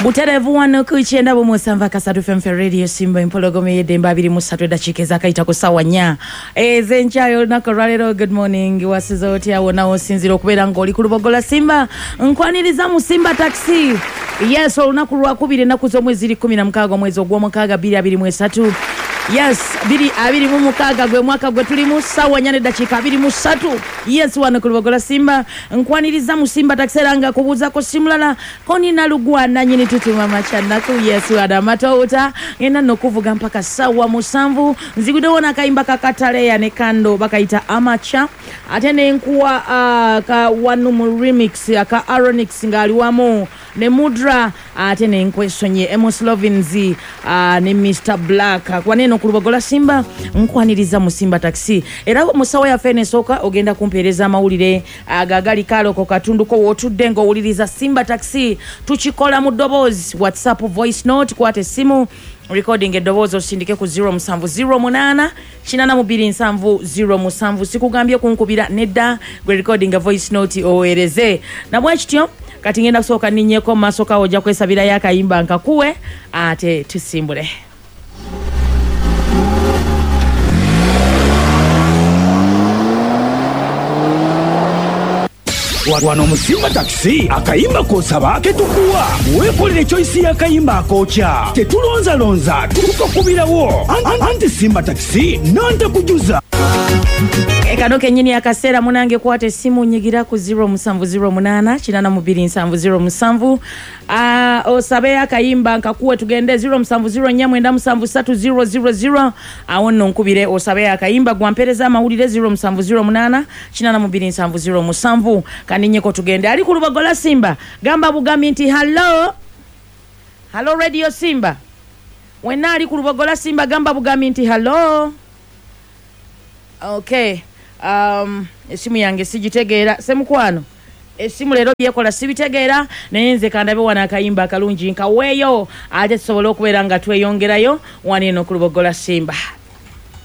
Butereevu wano ku 97.3 FM Radio Simba Empologoma ey'eddembe 23 eddakiika ezaakayita ku ssaawa 4 ez'enkya y'olunaku olwaleero. Good morning, wasiza otya wonna w'osinziira okubeera ng'oli ku Lubogola Simba? Nkwaniriza mu Simba Taxi. Yes, olunaku lwakubiri, ennaku z'omwezi ziri 16 omwezi ogw'omukaaga 2023. Yes, 2026 gwe mwaka gwe tulimu, ssaawa 4 n'eddakiika 23. Yes, wano ku Lubogola Simba nkwaniriza mu Simba Taxi era nga kubuuzako simulala konina lugwa nanyini tutuma macanaku. Yes, wano amatowuta ngenda nno okuvuga mpaka ssaawa 7. Nziguddewo n'akayimba ka Kataleya ne Kando bakayita Amacha, ate nenkuwa ka wanu mu remix aka Aronix ng'ali wamu ne Mudra, ate nenkwesonye Emos Lovins ne Mr Black. Kwaneno ku Lubogola Simba nkwaniriza mu Simba Taxi era mu ssaawa yaffe eno esooka ogenda kumpeereza amawulire agagali kaloko katunduko w'otudde ng'owuliriza Simba Taxi. Tukikola mu ddoboozi, WhatsApp voice note, kwata essimu recording eddoboozi osindike ku 0708 8270 07. Sikugambye kunkubira nedda, gwe recording voice note oweereze. Nabwe kityo kati ngenda kusooka nninnyeko mu maaso kawo, ojja kwesabirayo akayimba nkakuwe ate tusimbule. Wano mu Simba Taxi akayimba k'osaba ketukuwa, weekolere choice y'akayimba akookya, tetulonzalonza, tukakubirawo. Anti Simba Taxi nantakujuza. Kano kennyini akaseera munange, kwata essimu nyigira ku 0708 8270 7. Osabe akayimba nkakuwe tugende 0704 973 000. Awo nno nkubire osabe akayimba gwampereza amawulire 0708 8270 7. Kandinyeko tugende. Ali ku Lubogola Simba gamba bugambi nti hallo hallo Radio Simba. Wenna ali ku Lubogola Simba gamba bugambi nti hallo. Okay, esimu yange sigitegeera semukwano, esimu leero byekola sibitegeera, naye nze kandabe wano akayimba akalungi nkaweeyo ate tusobole okubeera nga tweyongerayo wano eno ku Lubogola Simba.